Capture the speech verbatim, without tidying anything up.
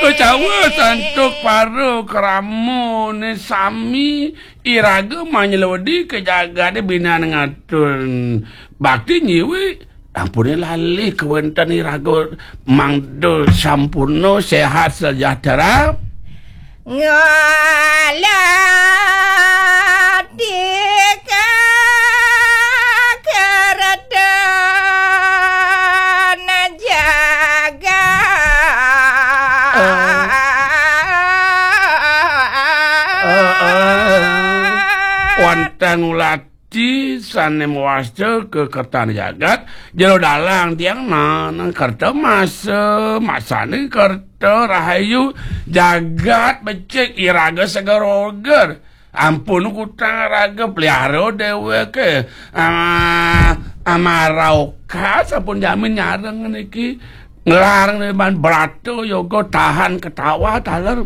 Kecawa santuk para kramane sami, iraga manyelodi ka jagate binan ngatur bakti nyiwi. Ampune lali kawenten iraga mangda sampurna sehat sejahtera. Ngalatika keretan jagat. Eh, eh, eh. Wantah ngulati sane mawasta ka kertan jagat, jero dalang tiang nang kerta masa, masane kerta rahayu, jagat becik iraga seger-oger. Ampun kutang raga, pelihara deweke. Ah, amarauka sampun jamin nyareng niki. Nglarang dewan brata yoga tahan ketawa taler.